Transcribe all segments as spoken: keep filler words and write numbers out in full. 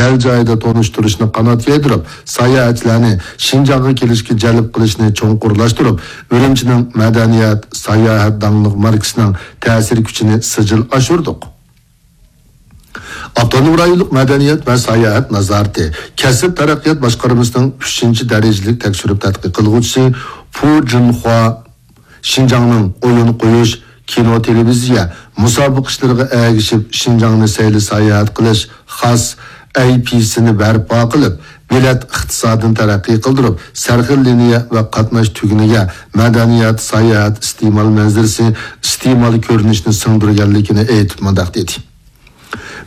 دەل جايىدا تونۇشتۇرۇشنى قانات يايدۇرۇپ، ساياھەتچىلەرنى شىنجاڭغا كېلىشكە جەلپ قىلىشنى چوڭقۇرلاشتۇرۇپ، ئۈرۈمچىنىڭ مەدەنىيەت، ساياھەت داڭلىق ماركىسىنىڭ تەسىر كۈچىنى سىجىل ئاشۇردۇق. ئاپتونوم رايونلۇق مەدەنىيەت ۋە ساياھەت نازارىتى كەسىپ تەرەققىيات باشقارمىسىنىڭ ئۈچىنچى دەرىجىلىك تەكشۈرۈپ تەتقىق قىلغۇچىسى پۇ جۇنخۇا شىنجاڭنىڭ ئويۇن قويۇش، كىنو، تېلېۋىزىيە، مۇسابىقە ئىشلىرىغا ئەگىشىپ شىنجاڭنى سەيلە ساياھەت قىلىش خاس ئەي پى سىنى بەرپا قىلىپ، بېلەت ئىقتىسادىنى تەرەققىي قىلدۇرۇپ، سەرخىل لىنىيە ۋە قاتناش تۈگۈنىگە مەدەنىيەت، ساياھەت، ئىستېمال مەنزىرىسى، ئىستېمال كۆرۈنۈشىنى سىڭدۈرگەنلىكىنى ئېيتىپ مۇنداق دېدى.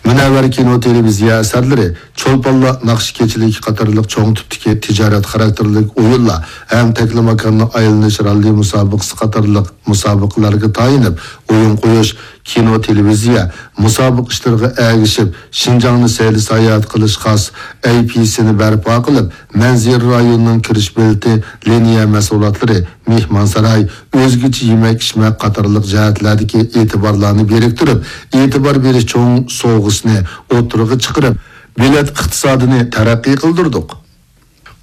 مۇنەۋۋەر كىنو، تېلېۋىزىيە ئەسەرلىرى، چولپانلار ناخشا كېچىلىكى قاتارلىق چوڭ تىپتىكى تىجارەت خاراكتېرلىك ئويۇنلار ھەم تەكلىماكاننى ئايلىنىش راللى مۇسابىقىسى قاتارلىق مۇسابىقىلەرگە تايىنىپ ئويۇن قويۇش، كىنو، تېلېۋىزىيە، مۇسابىقە ئىشلىرىغا ئەگىشىپ شىنجاڭنى سەيلە ساياھەت قىلىش خاس ئەي پى سىنى بەرپا قىلىپ، مەنزىرە رايونىنىڭ كىرىش بېلىتى، لىنىيە مەھسۇلاتلىرى، مېھمانساراي، ئۆزگىچە يېمەك-ئىچمەك قاتارلىق جەھەتلەردىكى ئېتىبارلارنى بىرىكتۈرۈپ، ئېتىبار بېرىش چوڭ سوۋغىسىنى ئوتتۇرىغا چىقىرىپ، بېلەت ئىقتىسادىنى تەرەققىي قىلدۇردۇق.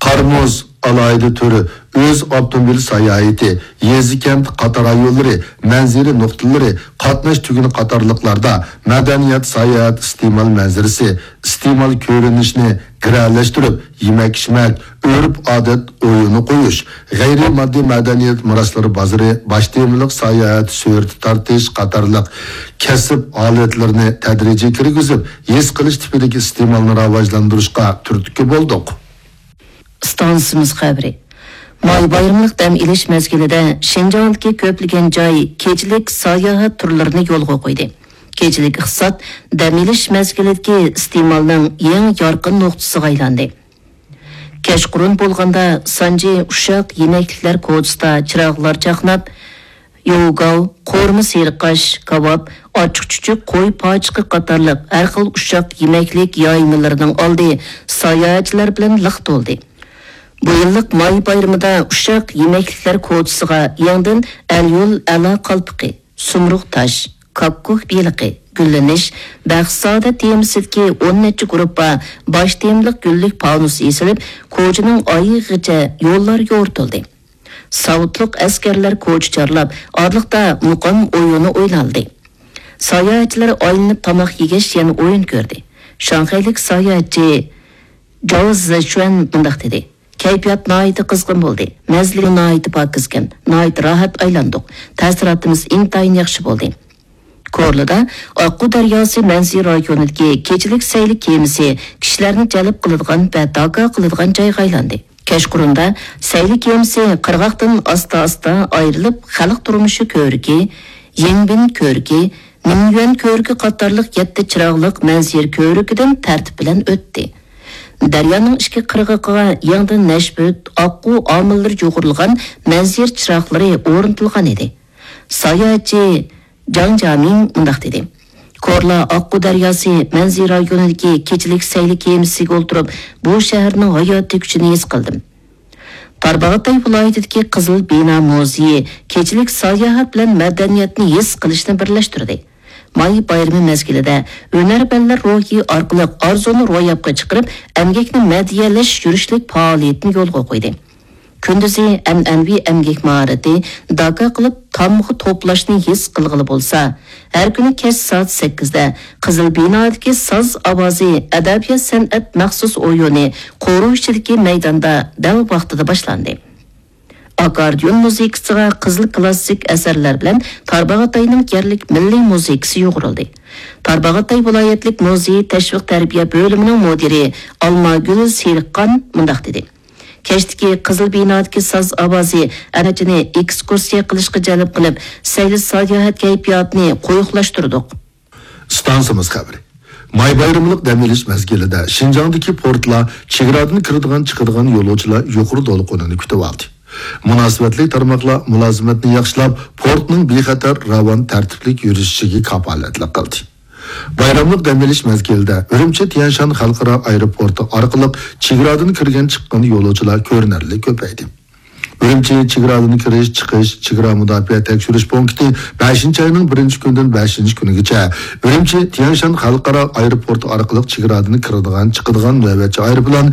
قار-مۇز ئالاھىدە تۈرى ئۆز ئاپتوموبىل ساياھىتى، يېزا-كەنت قاتار رايونلىرى، مەنزىرە نۇقتىلىرى، قاتناش تۈگۈنى قاتارلىقلاردا مەدەنىيەت، ساياھەت، ئىستېمال مەنزىرىسى، ئىستېمال كۆرۈنۈشىنى گىرەلەشتۈرۈپ، يېمەك-ئىچمەك، ئۆرپ-ئادەت ئويۇنى قويۇش، غەيرىي ماددىي مەدەنىيەت مىراسلىرى بازىرى، باش تېمىلىق ساياھەت سۈرىتى تارتىش قاتارلىق كەسىپ ھالەتلىرىنى تەدرىجىي كىرگۈزۈپ، ھېس قىلىش تىپىدىكى ئىستېمالنى راۋاجلاندۇرۇشقا تۈرتكە بولدۇق. ئىستانسىمىز خەۋىرى. ماي بايرىملىق دەم ئېلىش مەزگىلىدە شىنجاڭدىكى كۆپلىگەن جاي كېچىلىك ساياھەت تۈرلىرىنى يولغا قويدى. كېچىلىك ئىقتىساد دەم ئېلىش مەزگىلىدىكى ئىستېمالنىڭ يېڭى يارقىن نۇقتىسىغا ئايلاندى. كەچقۇرۇن بولغاندا سانجى ئۇششاق يېمەكلىكلەر كوچىسىدا چىراغلار چاقناپ، يوۋگاۋ، قورۇما سېرىقاش، كاۋاپ، ئاچچىق-چۈچۈك، قوي پاچىقى قاتارلىق ھەر خىل ئۇششاق يېمەكلىك يايمىلىرىنىڭ ئالدى ساياھەتچىلەر بىلەن لىق تولدى. بۇ يىللىق ماي بايرىمىدا ئۇششاق يېمەكلىكلەر كوچىسىغا يېڭىدىن ئەليول ئەلا قالپىقى، سۇمرۇغ تاش، كاككۇك بېلىقى، گۈللىنىش، بەختسادە تېمىسىدىكى ئون نەچچە گۇرۇپپا باش تېمىلىق گۈللۈك پانۇس ئېسىلىپ، كوچىنىڭ ئايىغىچە يوللار يورۇتۇلدى. ساۋۇتلۇق ئەسكەرلەر كوچا چارلاپ، ئارىلىقتا مۇقام ئويۇنى ئوينالدى. ساياھەتچىلەر ئايلىنىپ تاماق يېگەچ يەنە ئويۇن كۆردى. شاڭخەيلىك ساياھەتچى جاۋ زېچۈەن مۇنداق دېدى: «كەيپىيات ناھايىتى قىزغىن بولدى، مەنزىلى ناھايىتى پاكىزكەن، ناھايىتى راھەت ئايلاندۇق، تەسىراتىمىز ئىنتايىن ياخشى بولدى.» كورلىدا ئاققۇ دەرياسى مەنزىرە رايونىدىكى كېچىلىك سەيلە كېمىسى كىشىلەرنى جەلپ قىلىدىغان ۋە داكا قىلىدىغان جايغا ئايلاندى. كەچقۇرۇندا سەيلە كېمىسى قىرغاقتىن ئاستا-ئاستا ئايرىلىپ، خەلق تۇرمۇشى كۆۋرۈكى، يىڭبىن كۆۋرۈكى، مىنيۈەن كۆۋرۈكى قاتارلىق يەتتە چىراغلىق مەنزىرە كۆۋرۈكىدىن تەرتىپ بىلەن ئۆتتى. دەريانىڭ ئىككى قىرغىقىغا يېڭىدىن نەشپۈت، ئاققۇ ئامىللىرى يۇغۇرۇلغان مەنزىرە چىراغلىرى ئورنىتىلغان ئىدى. ساياھەتچى جاڭ جيامىڭ مۇنداق دېدى: «كورلا ئاققۇ دەرياسى مەنزىرە رايونىدىكى كېچىلىك سەيلە كېمىسىگە ئولتۇرۇپ، بۇ شەھەرنىڭ ھاياتىي كۈچىنى ھېس قىلدىم.» تارباغاتاي ۋىلايىتىدىكى قىزىل بىنا مۇزېيى كېچىلىك ساياھەت بىلەن مەدەنىيەتنى ھېس قىلىشنى بىرلەشتۈردى. ماي بايرىمى مەزگىلىدە ھۈنەرۋەنلەر روھى ئارقىلىق ئارزۇنى روياپقا چىقىرىپ، ئەمگەكنى مەدھىيەلەش يۈرۈشلۈك پائالىيىتىنى يولغا قويدى. كۈندۈزى ئەنئەنىۋى ئەمگەك ماھارىتى، داكا قىلىپ تامغا توپلاشنى ھېس قىلغىلى بولسا، ھەر كۈنى كەچ سائەت سەككىزدە قىزىل بىنادىكى ساز ئاۋازى ئەدەبىيات-سەنئەت مەخسۇس ئويۇنى قورۇ ئىچىدىكى مەيداندا دەل ۋاقتىدا باشلاندى. ئاككوردىئون مۇزىكىسىغا قىزىل كلاسسىك ئەسەرلەر بىلەن تارباغاتاينىڭ يەرلىك مىللىي مۇزىكىسى يۇغۇرۇلدى. تارباغاتاي ۋىلايەتلىك مۇزېي تەشۋىق تەربىيە بۆلۈمىنىڭ مۇدىرى ئالماگۈل سېرىقخان مۇنداق دېدى: «كەچتىكى قىزىل بىنادىكى ساز ئاۋازى ئەمەچىنى ئېكسكۇرسىيە قىلىشقا جەلپ قىلىپ، سەيلە ساياھەت كەيپىياتىنى قويۇقلاشتۇردۇق.» ئىستانسىمىز خەۋىرى. ماي بايرىملىق دەم ئېلىش مەزگىلىدە شىنجاڭدىكى پورتلار چېگرادىن كىرىدىغان، چىقىدىغان يولۇچىلار يۇقىرى دولقۇنىنى كۈتۈۋالدى. مۇناسىۋەتلىك تارماقلار مۇلازىمەتنى ياخشىلاپ، پورتنىڭ بىخەتەر، راۋان، تەرتىپلىك يۈرۈشۈشىگە كاپالەتلىك قىلدى. بايراملىق دەم ئېلىش مەزگىلىدە ئۈرۈمچى تيەنشان خەلقئارا ئايروپورتى ئارقىلىق چېگرادىن كىرگەن، چىققان يولۇچىلار كۆرۈنەرلىك كۆپەيدى. ئۈرۈمچى چېگرادىن كىرىش، چىقىش، چېگرا مۇداپىئە تەكشۈرۈش پونكىتى بەشىنچى ئاينىڭ بىرىنچى كۈنىدىن بەشىنچى كۈنىگىچە ئۈرۈمچى تيەنشان خەلقئارا ئايروپورتى ئارقىلىق چېگرادىن كىرىدىغان، چىقىدىغان نۆۋەتچى ئايروپىلان